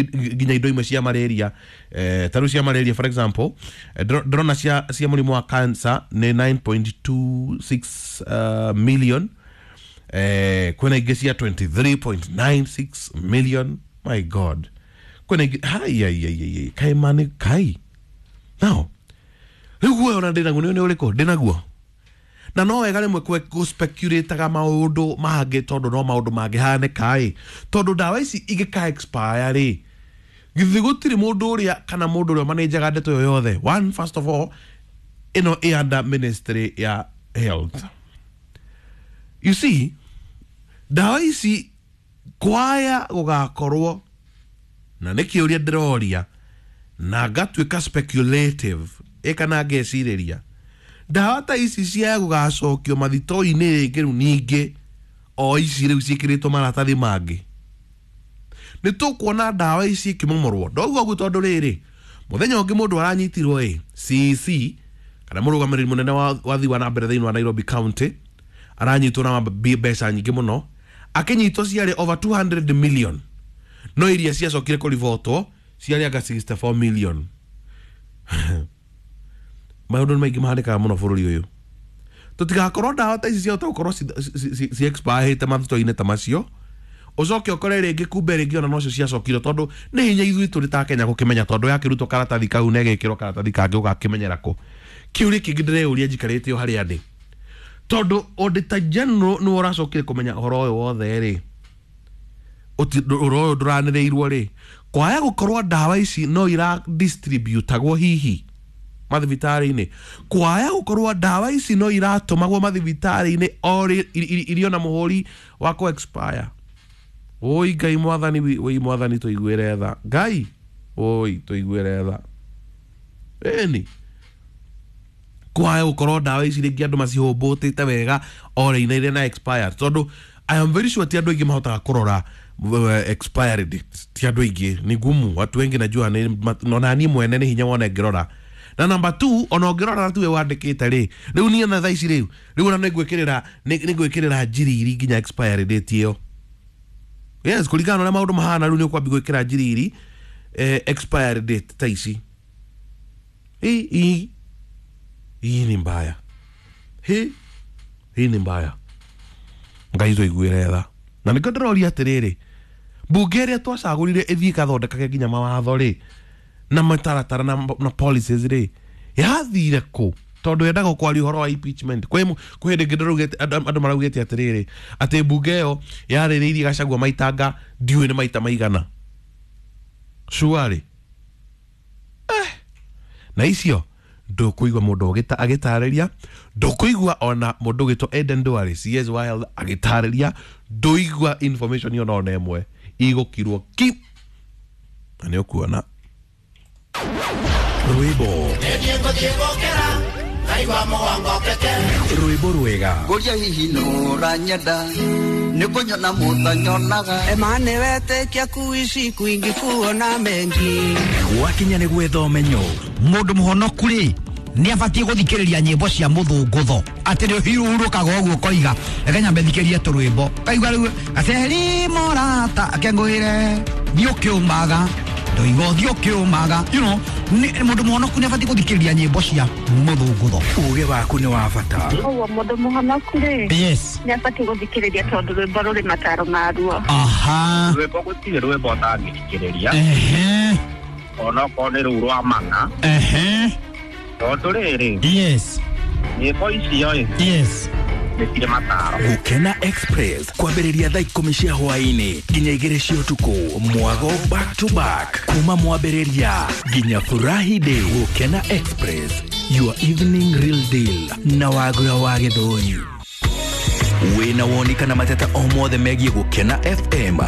nginya indo imwe cia malaria, ta rĩu cia malaria for example, ndĩrona cia mũrimũ wa cancer nĩ 9.26 million, kwĩna ingĩ cia 23.96 million. My God, kwĩna ingĩ hai ai ai ai kai mani kai now rĩu guoya ona ndĩnaguo nĩ ũrĩkũ ndĩnaguo. Na no wega rĩmwe gũspeculateaga maũndũ mangĩ tondũ no maũndũ mangĩhanĩka ĩ, tondũ ndawa ici ingĩka expire rĩ, githĩ gũtirĩ mũndũ ũrĩa kana mũndũ ũrĩa manenjaga ndeto ĩyo yothe. One, first of all, ĩno ĩ under ministry ya health. You see, ndawa ici kwaya gũgakorwo na nĩ kĩũria ndĩroria na ngatuĩka speculative ĩ kana ngecirĩria ndawa ta ici cia gũgacokio mathito-inĩ rĩngĩ rĩu ningĩ o ici rĩu ciĩkĩrĩtwo maratathi mangĩ, nĩ tũkuona ndawa ici ikĩmomorwo. Ndauga ũguo tondũ rĩrĩ, mũthenya ũngĩ mũndũ aranyitirwo ĩ CC kana mũrũgamĩrĩri mũnene wa thii wa na mbere thĩinĩ wa Nairobi County aranyitwo na mbeca nyingĩ mũno, akĩnyitwo ciarĩ over 200 million, no iria ciacokire kũribotwo ciarĩ anga 64 million. Maũndũ nĩ maingĩ mahanĩkaga mũno bũrũri ũyũ. Tũtigakorwo ndawa ta ici ciahota gũkorwo ci expire mathito-inĩ ta macio, ũcoke ũkore rĩngĩ kumbe rĩngĩ ona nocio ciacokire, tondũ nĩ hinya ithuĩ tũrĩ ta Kenya gũkĩmenya, tondũ yakĩrutwo karatathi kau na ĩgekĩrwo karatathi kangĩ ũgakĩmenyera kũ. Kĩũria kĩngĩ ndĩreyũria njikarĩte o harĩa ndĩ, tondũ Auditor General nĩwe ũracokire kũmenya ũhoro ũyũ wothe rĩ, ũhoro ũyũ ndũranĩrĩirwo rĩ, kwaya gũkorwo ndawa ici no ira distributagwo hihi mathibitarĩ-inĩ, kwaya gũkorwo ndawa ici no iratũmagwo mathibitarĩ-inĩ o irio na mũhũri wa kũ expire. Oi Ngai mwathani, oi mwathani tũiguĩre tha, Ngai oi tũiguĩre tha. Ĩni kwaya gũkorwo ndawa ici rĩngĩ andũ macihũmbũtĩte wega o rĩinaire na expire, tondũ I am very sure ti andũ aingĩ mahotaga kũrora expiry date, ti andũ aingĩ, ni ngumu, watu wengi najua ona niĩ mwene nĩ hinya wone ngĩrora. Na number 2, ona ũngĩrora tu we wandĩkĩte rĩ, rĩu niĩ na thaa ici rĩu ona nĩngwĩkĩrĩra nĩngwĩkĩrĩra njiriri nginya expiry date ĩyo. Yes, kũringana na ũrĩa maũndũ mahana rĩu nĩ ũkwambia gwĩkĩra njiriri expiry date ta ici. Hii ni mbaya, hii ni mbaya. Ngai tũiguĩre tha. Na nĩkĩo ndĩroria atĩrĩrĩ, mbunge ĩrĩa twacagũrire ĩthiĩ ĩgathondekage nginya mawatho rĩ na mataratara na policies rĩ, yathire kũ? Tondũ yendaga kwaria ũhoro wa impeachment. Kwĩ hĩndĩ ĩngĩ ndĩraugĩte andũ maraugĩte atĩrĩrĩ, atĩ mbunge ĩyo yarĩrĩirie Gachagua maitanga ndiũĩ nĩ maita maigana. Surely. Na icio ndũkũigua mũndũ agĩtarĩria, ndũkũigua ona mũndũ ũgĩtwo Eden Duale CS Wild agĩtarĩria, ndũigua information ona ĩmwe, igũkirwo ki na nĩ ũkuona. Rwĩmbo rwĩmbo rwega ngũria hihi nũranyenda nĩ kũnyona mũtanyonaga emane wetĩkia kuishi kwingi kuona mengi gwakinya nĩ gwetha ũmenyo. Mũndũ mũhonoku rĩ nĩ abatiĩ gũthikĩrĩria nyĩmbo cia mũthũngũtho, atĩ nĩ ũhurũkaga ũguo ũkoiga reke nyambe thikĩrie tũrwĩmbo, kaigua rĩu gaceri mũrata akengũĩre thiĩ ũkĩũmaga ndoiga ũthiĩ ũkĩũmaga, you know, mũndũ mũhonoku nĩ abatiĩ gũthikĩrĩria nyĩmbo cia mũthũngũtho. Ũgĩ waku nĩ wa bata. Ũguo mũndũ mũhonoku rĩ, yes, nĩ abatiĩ gũthikĩrĩria tondũ rwĩmbo rũrĩ mataro maruo. Aha, rwĩmbo gũtirĩ rwĩmbo ũtangĩthikĩrĩria, ehe, onokorwo nĩ rũu rwa mana, ehe, tondũ rĩrĩ, yes, nyĩmbo icio ĩ, yes, nĩ cirĩ mataro. Gũkena Express kwambĩrĩria thaa 10 cia hwaĩ-inĩ nginya 2 cia ũtukũ, mwago back to back kuma mwambĩrĩria nginya Furahi Day. Gũkena Express, your evening real deal na Wagura wa Gĩthũri. Wĩna woni kana mateta o mothe megiĩ Gũkena FM.